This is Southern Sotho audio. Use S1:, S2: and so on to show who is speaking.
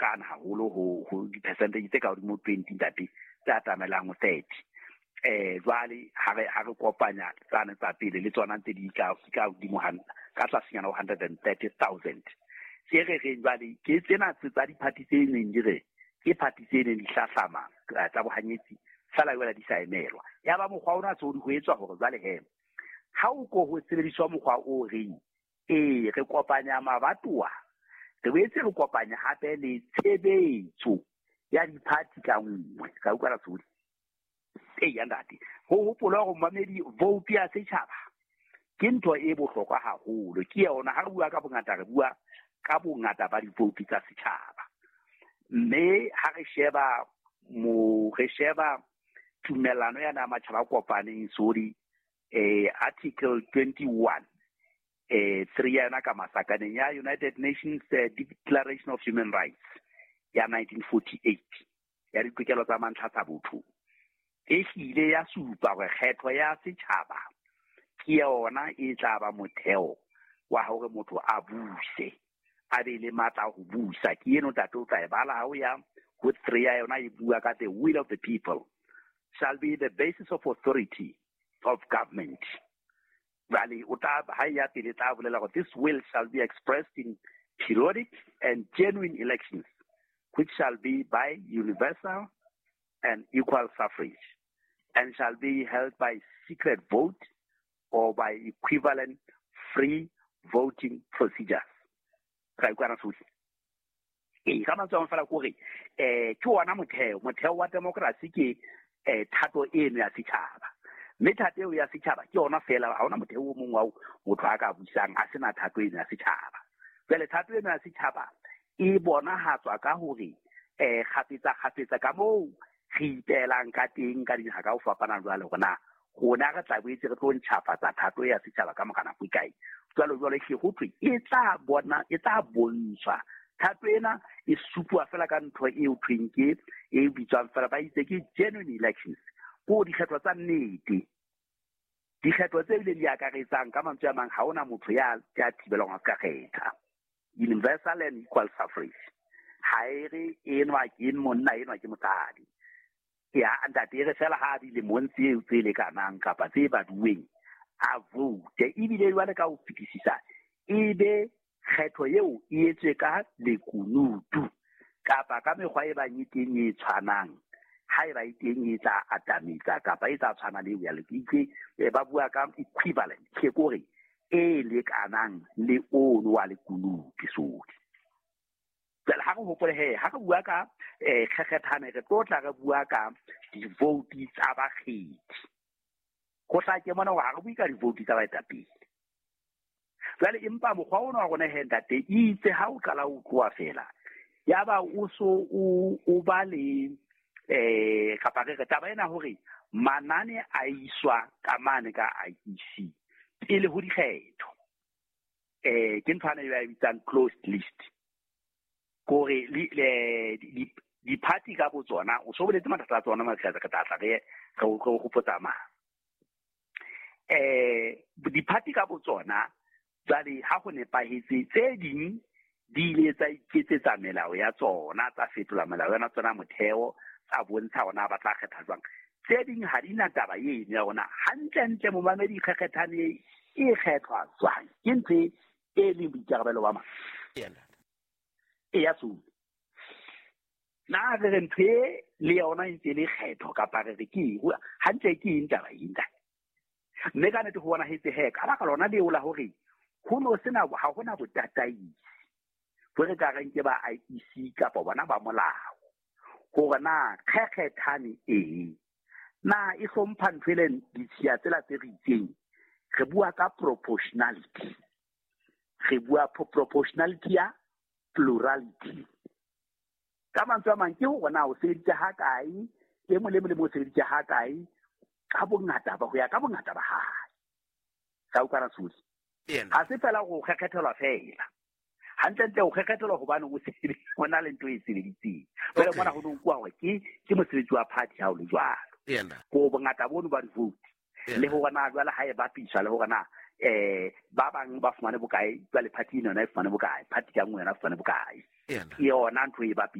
S1: kana haholo ho di-percentage tse ka hodimo 20 ntate, tse atamelang ho 30. Jwale ha re kopanya tsane tsa pele le tsona tse di ka hodimo ka tlasenyana ho 130,000. Tse re reng jwale ke tsena tsa di-party tse neng di re ke party tse neng di hlahlama tsa bohanyetsi fela jwale di sa emelwa. Ya ba mokgwa ona tse ho etswa hore jwale he ha o ko ho sebediswa mokgwa o reng re kopanya mabatowa, re boetse re kopanya hape le tshebetso ya di-party ka nngwe. Ka utlwa Rasodi? Eya ntate, ho hopola hore momamedi vote ya setjhaba ke ntho e bohlokwa haholo. Ke yona ha re bua ka bongata, re bua ka bongata ba di-vote tsa setjhaba. Mme ha re sheba re sheba tumellano ya matjhaba a kopaneng, sorry, Article 21 3 ya yona ka masakaneng ya United Nations Declaration of Human Rights ya 1948 ya ditokelo tsa mantlha tsa botho, e hlile ya supa hore kgetho ya setjhaba ke yona e tla ba motheo wa hore motho a buse, a be le matla ho busa. Ke eno ntate o tla e bala ha o ya ho 3 ya yona, e bua ka the will of the people shall be the basis of authority of government. Jwale o tla ha ya pele tla bolela hore this will shall be expressed in periodic and genuine elections, which shall be by universal and equal suffrage, and shall be held by secret vote or by equivalent free voting procedures. Ra utlwana sohle? Ee, ka mantswe a mang fela ke hore ke ona motheo wa democracy ke thato eno ya setjhaba. Mme thato eo ya setjhaba ke yona fela, ha hona motheo o mong wa motho a ka busang a sena thato eno ya setjhaba. Jwale thato eno ya setjhaba e bonahatswa ka hore kgafetsa kgafetsa ka moo re ipeelang ka teng ka dinaha ka ho fapana jwale hore na rona re tla boetse re tlo ntjhafatsa thato ya setjhaba ka mora nako e kae. Jwalo jwalo hle ho thwe e tla bona, e tla bontshwa. Thato ena e supuwa fela ka ntho e ho thweng ke e bitswang fela ba itse ke genuine elections, ko dikgetho tsa nnete. Dikgetho tse bileng di akaretsang ka mantswe a mang, ha hona motho ya thibelwang a ska kgetha. Universal and equal suffrage. Ha e re enwa ke monna, enwa ke mosadi. Ya ntate e re fela ha dilemong tseo tse lekanang kapa tse baduweng a vote. Ebile jwale ka ho fetisisa e be kgetho eo e etswe ka lekunutu kapa ka mekgwa e bang e teng e tshwanang, ha eba e teng e tla atametsa kapa e tla tshwana le eo ya lekitse, ba bua ka equivalent, ke kore e lekanang le ono wa lekunutu sohle. Jwale ha re hopole he, ha re bua ka kgekgethane, re tlo tla re bua ka di-vote tsa bakgethi. Ho hlake mona hore ha re bue ka di-vote tsa baetapele. Jwale empa mokgwa ona wa rona he ntate, itse ha o qala ho tloha fela, ya ba o so o ba le kapa re re taba ena hore manane a iswa ka mane ka IEC pele ho dikgetho. Ke ntho ena e ba e bitsang closed list. Kore di-party ka botsona, o so boletse mathata a tsona, Matlhatsa, re tla tla re hopotsa mang. Di-party ka botsona jwale ha ho nepahetse, tse ding di ile tsa iketsetsa melao ya tsona, tsa fetola melao ya tsona motheo, tsa bontsha hore na ba tla kgetha jwang. Tse ding ha di na taba eno ya rona. Hantlentle momamedi kgekgethane e kgethwa jwang? Ke ntho e leng boikarabelo ba mang? E ya tsona. Na re re ntho e le yona e ntse e le kgetho kapa re re ke eng? Hantle ke eng taba e ntate? Mme ka nnete ho bonahetse he, ka baka lona leo la hore ho no sena, ha hona botataisi bo re ka reng ke ba IEC kapa bona ba molao, hore na kgekgethane eng, na e hlompha ntho e leng ditshiya tsela tse re itseng. Re bua ka proportionality, re bua proportionality ya plurality. Ka mantswe a mang ke hore na o sebeditse ha kae, e mong le mong le mong o sebeditse ha kae, ka bongata ba ho ya ka bongata ba hae. Ka utlwa Rasodi? Ha se fela ho kgekgethelwa fela. Hantlentle o kgekgethelwa hobane o o na le ntho e sebeditseng. Jwale mona ho no nkuwa hore ke mosebetsi wa party ha o le jwalo. Ko bongata bono ba di-vote. Le hore na jwale ha e bapiswa le hore na ba bang ba fumane bokae, jwale party ena yona e fumane bokae, party ka nngwe yona e fumane bokae. Ke yona ntho e.